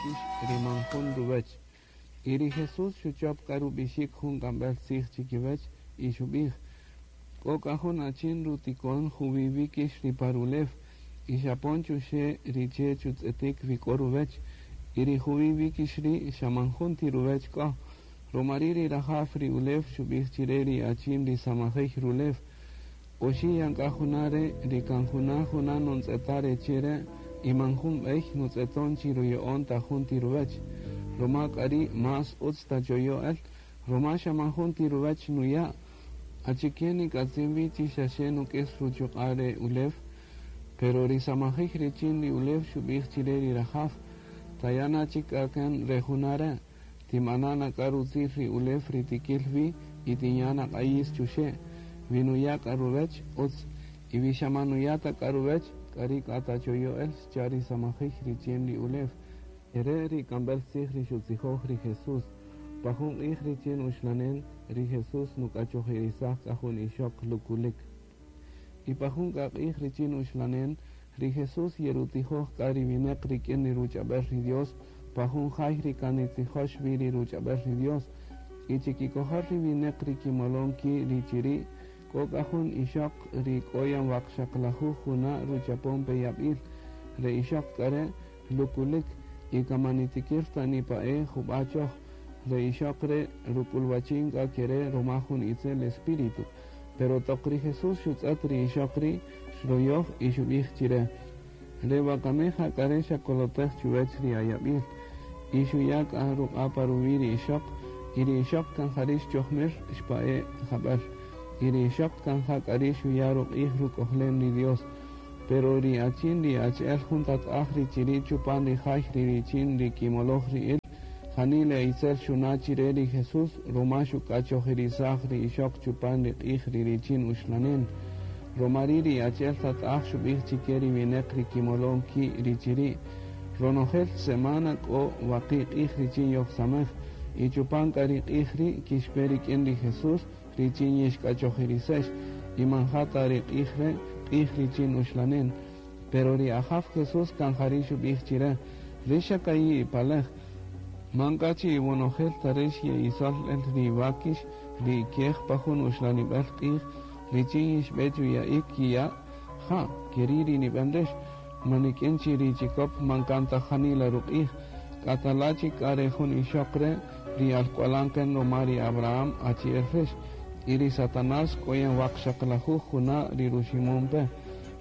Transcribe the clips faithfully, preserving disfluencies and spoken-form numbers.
wákix ri man jun ruwech. Y ri Jesús xuchop k'a rub'ixik jun k'amb'el tzij chikiwech y xub'ij: K'o k'a jun achin rutikon juwi wíkix ri pa rulew y xapon chuxe' ri che' chutz'etik wi k'o ruwech y ri juwi wíkix ri' xa man jun ti ruwech k'o. Ruma ri' ri rajaw ri ulew xub'ij chire ri achin ri samajay rulew: Oxi' yan k'a juna' re' ri kan juna' juna' nontz'eta' re che' re' y man jun b'ey nutz'eton chi ruya'on ta jun ti ruwech. Ruma k'a ri' más utz tachoyo' el, ruma xa man jun ti ruwech nuya'. Achike nik'atzin wi chi xaxe nuk'is ruchuq'a' re ulew? Pero ri samajay richin ri ulew xub'ij chire ri rajaw: Taya' na chik k'a kan re juna' re', tib'ana' na k'a rutzil ri ulew ri tikil wi y tinya' na q'ayis chuxe'. Wi nuya' k'a ruwech, utz, y wi xa man nuya' ta k'a ruwech, k'a ri' k'a tachoyo' el, xcha' ri samajay richin ri ulew. Ere' ri k'amb'el tzij ri xutzijoj ri Jesús. Pa jun q'ij richin uxlanen, ri Jesús nuk'achojirisaj k'a jun ixoq lukulik. Y pa jun k'a q'ij richin uxlanen, ri Jesús yerutijoj k'a ri wineq rik'in ri ruch'ab'el ri Dios, pa jun jay ri kan nitzijox wi ri ruch'ab'el ri Dios. Y chikikojol ri wineq ri kimolon ki' ri chiri', k'o k'a jun ixoq ri k'o yan waqxaqlajuj juna' ruchapon pe yab'il. Re ixoq k'a re' lukulik y kan man nitikir ta nipa'e jub'a' choj. Re ixoq re' ruk'ulwachin k'a kere' ruma jun itzel espíritu. Pero toq ri Jesús xutz'ët ri ixoq ri', xroyoj y xub'ij chire: Re wakami ja k'a re' xakolotej chuwech ri ayab'il. Y xuya' k'a ruq'a' pa ruwi' ri ixoq, y ri ixoq kan jari' xchojmir xpa'e' jab'el. Y ri ixoq kan ja k'a ri' xuya' ruq'ij ruk'ojlem ri Dios. Pero ri achin ri achi'el jun tat'aj ri chiri' chupan ri jay ri richin ri kimoloj ri'il, janila itzel xuna' chire ri Jesús ruma xuk'achojirisaj ri ixoq chupan ri q'ij ri richin uxlanen. Ruma ri' ri achi'el tat'aj xub'ij chike ri wineq ri kimolon ki' ri chiri': Ronojel semana k'o waqi' q'ij richin yojsamej, y chupan k'a ri q'ij ri' kixpe rik'in ri Jesús richin yixk'achojirisex, y man ja ta ri q'ij re' q'ij richin uxlanen. Pero ri Ajaw Jesús kan jari' xub'ij chire: Rix xa ka'i' ipalej, man k'a chi iwonojel ta rix ye'isol el ri wákix ri kej pa jun uxlanib'el q'ij richin yixb'e chuya'ik kiya'? Ja, keri' ri nib'an rix, man nik'in chi ri chikop man kan ta janila ruq'ij. K'atala chik k'a re jun ixoq re' ri alk'walan kan ruma ri Abraham achi'el rix, y ri Satanás k'o yan waqxaqlajuj juna' ri ruximon pe.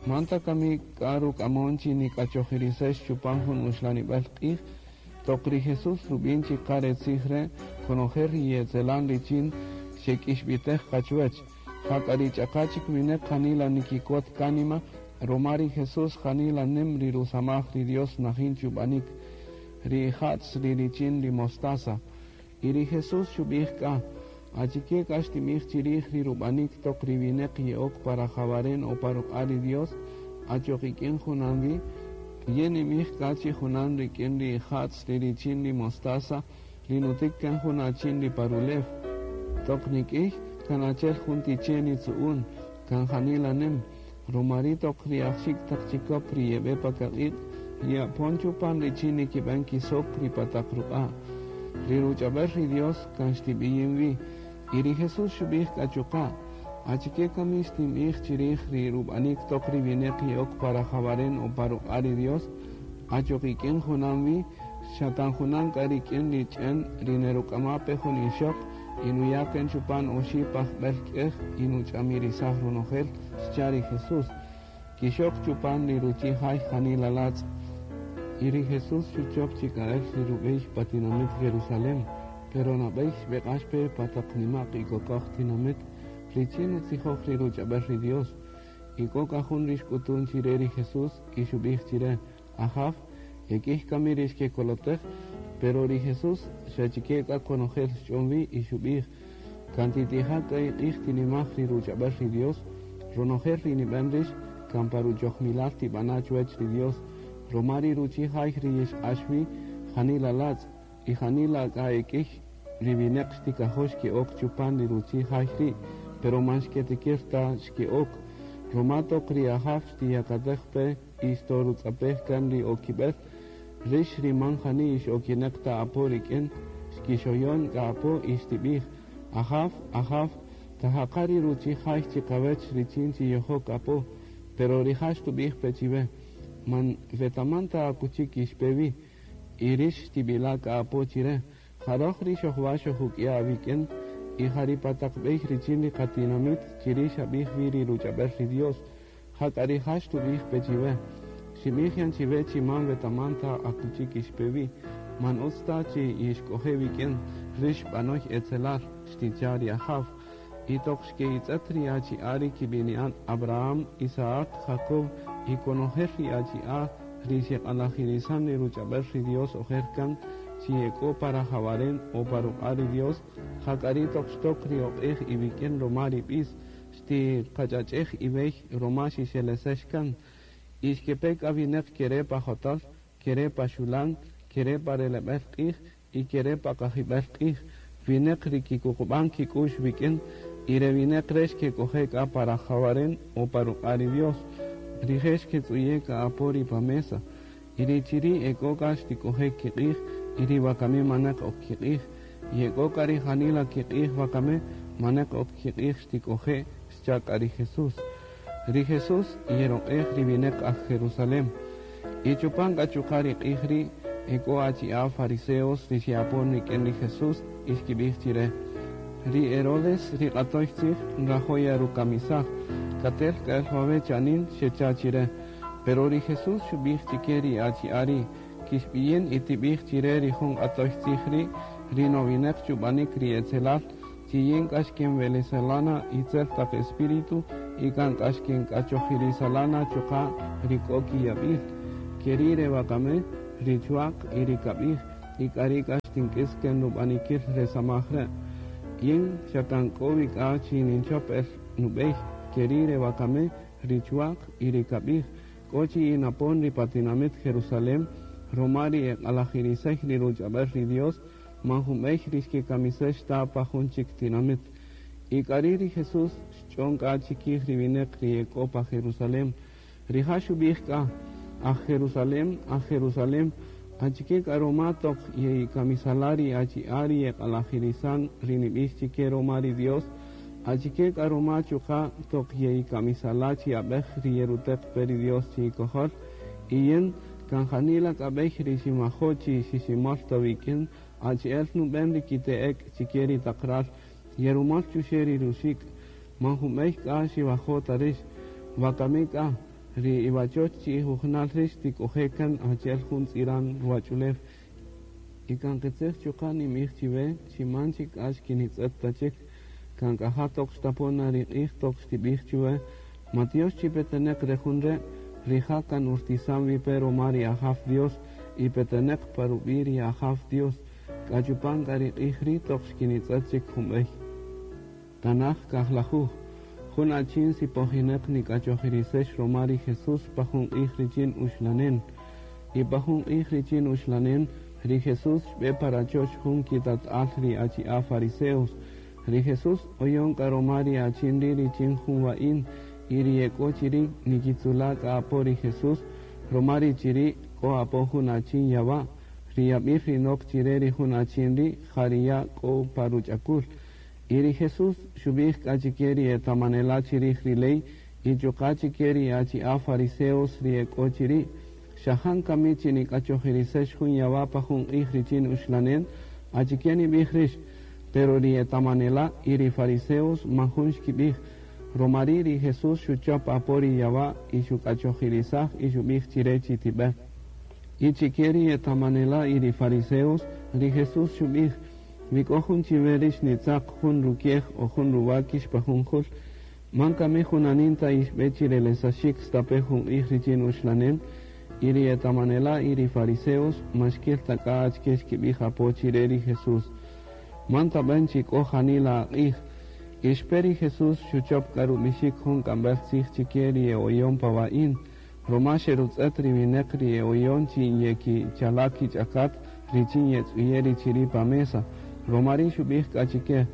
Man ta kami k'a ruk'amon chi nik'achojirisex chupan jun uxlanib'el q'ij? Toq ri Jesús rub'in chi qa re tzij re', konojel ri yetzelan richin xek'ixb'itej qa chuwech. Jak'a ri ch'aqa chik wineq janila nikikot kánima, ruma ri Jesús janila nim ri rusamaj ri Dios najin chub'anik. Ri ija'tz ri richin ri mostaza. Y ri Jesús xub'ij k'a: Achike k'a xtib'ij chirij ri rub'anik toq ri wineq ye'ok pa rajawaren o pa ruq'a' ri Dios, achoq ik'in junan wi? Yin ninb'ij k'a chi junan rik'in ri ija'tz ri richin ri mostaza ri nutik kan jun achin ri pa rulew. Toq nik'ij, kan achi'el jun ti che' nitzu'un, kan janila nim. Ruma ri' toq ri ajxik' taq chikop ri yeb'e pa kaq'iq', ye'apon chupan richin nikib'an kisok ri pa taq ruq'a'. Ri ruch'ab'el ri Dios kan xtib'iyin wi. Y ri Jesús xub'ij k'a chuqa': Achike kami xtinb'ij chirij ri rub'anik toq ri wineq ye'ok pa rajawaren o pa ruq'a' ri Dios? Achoq ik'in junan wi, xa kan junan k'a rik'in ri ch'en ri neruk'ama pe jun ixoq y nuya' kan chupan oxi' pajb'el k'ej y nuch'amirisaj ronojel, xcha' ri Jesús. Kixok chupan ri ruchi' jay janila latz'. Y ri Jesús xuchop chik k'a el ri rub'ey pa tinamit Jerusalén, pero nab'ey xb'eq'ax pe pa taq nima'q y kokoj tinamit richin nutzijoj ri ruch'ab'el ri Dios. Y k'o k'a jun ri xk'utun chire ri Jesús y xub'ij chire: Ajaw, ek'ij kami ri xkekolotej? Pero ri Jesús xa chike k'a konojel xch'on wi y xub'ij: Kan titija' k'a iq'ij tinimaj ri ruch'ab'el ri Dios, ronojel ri nib'an rix kan pa ruchojmilal tib'ana' chuwech ri Dios. Ruma ri ruchi' jay ri yixq'ax wi janila latz', y janila k'a ek'ij ri wineq xtikajo' xke'ok chupan ri ruchi' jay ri', pero man xketikir ta xke'ok. Ruma toq ri Ajaw xtiyakatej pe y xtorutz'apej kan ri okib'el, Rix ri man jani ixokineq ta apo rik'in, xkixoyon k'a apo y xtib'ij, Ajaw, ajaw, tajaqa' ri ruchi' jay chiqawech richin chi yojok apo, pero rija' xtub'ij pe chiwe, man wetaman ta akuchi kixpe wi, y rix xtib'ila' k'a apo chire, ja roj ri xojwa' xojuk'ya' awik'in, y ja ri pa taq b'ey richin ri qatinamit chiri' xab'ij wi ri ruch'ab'el ri Dios, jak'a rija' xtub'ij pe chiwe, xib'ij yan chiwe chi man wetaman ta akuchi kixpe wi, man utz ta chi yixk'oje' wik'in, rix b'anoy etzelal, xticha' ri Ajaw. Y toq xke'itz'et ri achi'a' ri kib'ini'an Abraham, Isaac, Jacob y konojel ri achi'a' ri xeq'alajirisan ri ruch'ab'el ri Dios ojer kan chi e k'o pa rajawaren o pa ruq'a' ri Dios, jak'a ri toq xtok ri oq'ej iwik'in roma ri b'is, xtiqach'ach'ej iwey roma xixelesex kan. Y xkepe k'a wineq kere' pa jotal, kere' pa xulan, kere' pa releb'el q'ij y kere' pa qajib'el q'ij, wineq ri kikuqub'an kik'u'x wik'in, y re wineq re' xkek'oje' k'a pa rajawaren o pa ruq'a' ri Dios. Rije' xketz'uye' k'a apo ri pa mesa, y ri chiri' ek'o k'a xtik'oje' kiq'ij, y ri wakami maneq ok kiq'ij, y ek'o k'a ri janila kiq'ij wakami maneq ok kiq'ij xtik'oje', xcha' k'a ri Jesús. Ri Jesús yeroq'ej ri wineq aj Jerusalem. Y chupan k'a chuqa' ri q'ij ri' ek'o achi'a' fariseos ri xe'apon rik'in ri Jesús y xkib'ij chire, ri Herodes ri q'atoy tzij nrajo' yarukamisaj, katel k'a el wawe' chanin xecha' chire. Pero ri Jesús xub'ij chike ri achi'a' ri' kixb'iyin y tib'ij chire ri jun q'atoy tzij ri' ri nowineq chub'anik ri etzelal, chi yin k'a xkenwelesalana itzel taq espíritu y kan k'a xkenk'achojirisalana chuqa' ri k'o kiyab'il. Keri' re wakami, ri chwa'q y ri kab'ij, y k'ari' k'a xtink'is ken rub'anikil re samaj re'. Yin xa kan k'o wi k'a chi ninchop el nub'ey, keri' re wakami, ri chwa'q y ri kab'ij, k'o chi yinapon ri pa tinamit Jerusalem, roma ri eq'alajirisey ri ruch'ab'el ri Dios, man jun b'ey ri xkekamisex ta pa jun chik tinamit. Y k'ari' ri Jesús xch'on k'a chikij ri wineq ri ek'o pa Jerusalem. Rija' xub'ij k'a, aj Jerusalem, aj Jerusalem, achike k'a roma toq ye'ikamisala' ri achi'a' ri yeq'alajirisan ri nib'ix chike roma ri Dios, achike k'a roma chuqa' toq ye'ikamisala' chi ab'ej ri yeruteq pe ri Dios chi ikojol, y yin kan janila k'a b'ey ri ximajo' chi xiximol ta wik'in, achi'el nub'en ri kite'ek chike ri taq ral, yerumol chuxe' ri ruxik', man jun b'ey k'a xiwajo' ta rix, wakami k'a, ri iwachoch chi ijujunal rix tik'oje' kan achi'el jun tz'iran ruwach'ulew. Y kan qitzij chuqa' ninb'ij chiwe chi man chik k'a xkinitz'et ta chik, kan k'a ja toq xtapon na ri q'ij toq xtib'ij chiwe, matyox chi peteneq re jun re', rija' kan urtisan wi pe roma ri Ajaw Dios y peteneq pa rub'i' ri Ajaw Dios, k'a chupan k'a ri q'ij ri' toq xkinitz'et chik jun b'ey. Tanaj kajlajuj, jun achin sipojineq nik'achojirisex roma ri Jesús pa jun q'ij richin uxlanen. Y pa jun q'ij richin uxlanen, ri Jesús xb'e pa rachoch jun kitat'al ri achi'a' fariseos. Ri Jesús oyon k'a roma ri achin ri' richin jun wa'in, y ri ek'o chiri' nikitzula' k'a apo ri Jesús, roma ri chiri' k'o apo jun achin yawa', ri yab'il ri nok chire ri jun achin ri' ja ri ya' k'o pa ruch'akul. Y ri Jesús xub'ij k'a chike ri etamanela' chirij ri ley y chuqa' chike ri achi'a' fariseos ri ek'o chiri', xajan kami chi nik'achojirisex jun yawa' pa jun q'ij richin uxlanen, achike nib'ij rix, pero ri etamanela' y ri fariseos man jun xkib'ij, roma ri' ri Jesús xuchop apo ri yawa' y xuk'achojirisaj y xub'ij chire chi tib'e. Y chike ri etamanela' y ri fariseos, ri Jesús xub'ij, wi k'o jun chiwe rix nitzaq jun rukiej o jun ruwakix pa jun jul, man kami junanin ta ixb'e chirelesaxik stape jun q'ij richin uxlanen, y ri etamanela' y ri fariseos man xkil ta k'a achike xkib'ij apo chire ri Jesús. Man tab'en chi k'o janila aq'ij, ixpe ri Jesús xuchop k'a rub'ixik jun k'amb'el tzij chike ri e'oyon pa wa'in, roma xerutz'et ri wineq ri e'oyon chi yekichala' kich'akat richin yetz'uye' ri chiri' pa mesa. Roma ri' xub'ij k'a chike,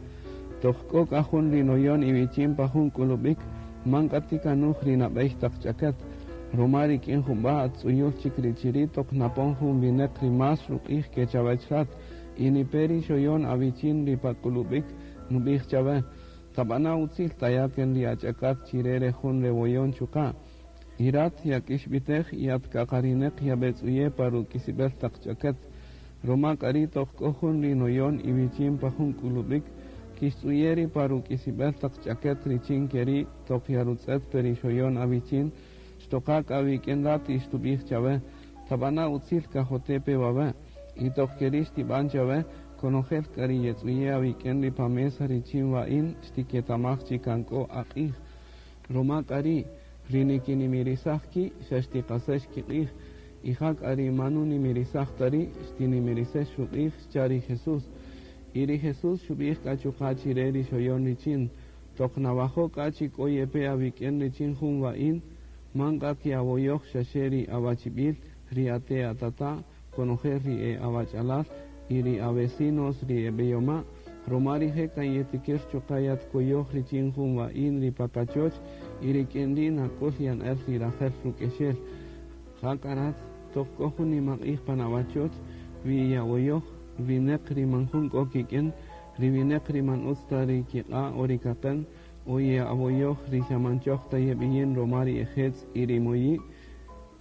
toq k'o k'a jun ri noyon iwichin pa jun k'ulub'ik, man k'a tikanuj ri nab'ey taq ch'akat, Roma rik'in jub'a' at tz'uyul chik ri chiri' toq napon jun wineq ri más ruq'ij ke chawech rat y nipe ri xoyon awichin ri pa k'ulub'ik nub'ij chawe tab'ana' utzil taya' kan ri ach'akat chire re jun re woyon chuqa' y rat yak'ixb'itej y at kaqarineq yab'etz'uye' pa ruk'isib'el taq ch'aket roma k'a ri' toq k'o jun ri noyon iwichin pa jun k'ulub'ik kixtz'uye' ri pa ruk'isib'el taq ch'aket richin keri' toq yarutz'et pe ri xoyon awichin xtoqa k'a wik'in rat y xtub'ij chawe tab'ana' utzil kajote' pe wawe' y toq keri' xtib'an chawe konojel k'a ri yetz'uye' awik'in ri pa mesa richin wa'in xtiketamaj chi kan k'o aq'ij roma k'a ri' ri nikinimirisaj ki' xa xtiqasex kiq'ij y ja k'a ri man nunimirisaj ta ri' xtinimirisex ruq'ij xcha' ri Jesús y ri Jesús xub'ij k'a chuqa' chire ri xoyon richin toq nawajo' k'a chi k'o yepe awik'in richin jun wa'in man k'a kiawoyoj xaxe ri awachib'il ri ate' atata' konojel ri e awach'alal y ri avecinos ri eb'eyoma' roma rije' kan yetikir chuqa' yatkoyoj richin jun wa'in ri pa kachoch y rik'in ri' nak'ul yan el ri rajel ruk'exel ja k'a rat toq k'o jun nimaq'ij pan awachoch wi yawoyoj wineq ri man jun k'o kik'in ri wineq ri man utz ta ri kiq'a' o ri kaqen o ye'awoyoj ri xa man choj ta yeb'iyin roma ri ejetz' y ri moyi'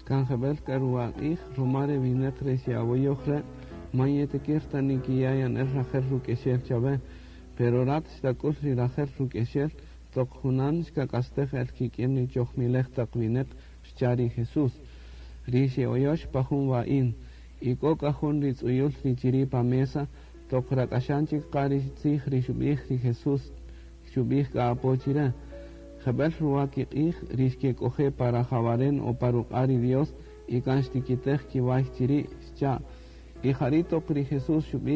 kan jeb'el k'a ruwaq'ij roma ri wineq re xe'awoyoj re' man yetikir ta nikiya' yan el rajel ruk'exel chawe pero rat xtak'ul ri rajel ruk'exel toq junan xkak'astej el kik'in ri chojmilej taq wineq xcha' ri Jesús. Ri xe'oyox pa jun wa'in y k'o k'a jun ri tz'uyul ri chiri' pa mesa toq rak'axan chik qa ri tzij ri xub'ij ri Jesús xub'ij k'a apo chire jeb'el ruwa kiq'ij ri xkek'oje' pa rajawaren o pa ruq'a' ri Dios y kan xtikitej kiway chiri' xcha' y jari' toq ri Jesús xub'ij